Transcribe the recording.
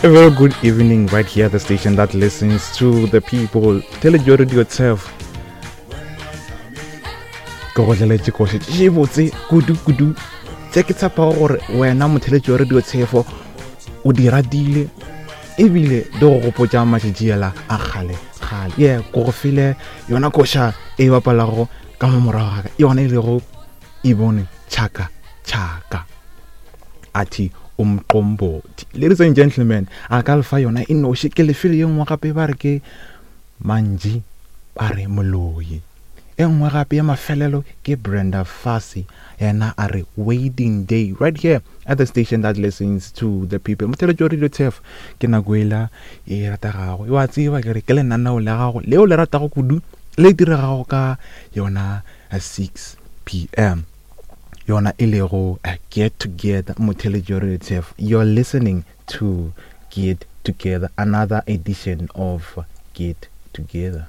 A very good evening right here at the station that listens to the people. Tell your radio itself. Ke go tleletše koše tše botse kudu kudu tše ke tshepago gore wena motheletši wa radio tshefo o di ratile ebile di go gopotša matšatšiela a kgale kgale ye ko go file yona koša e bapalago ka mo morago gaka yona e lego e bone tšhaka tšhaka a thi umqombothi ladies and gentlemen a ka lefa yona e noši ke lefele ye nngwe gape ba re ke mantši ba re moloi e nngwe gape ya mafelelo ke Brenda Fassie yena a re waiting day right here at the station that listens to the people motheletši wa radio tef ke nako ela e rategago wa tseba ke re ke lenaneo la gago leo le ratago kudu le diregago ka yona 6 pm yona e lego get together motheletši wa radio tef you're listening to get together another edition of get together.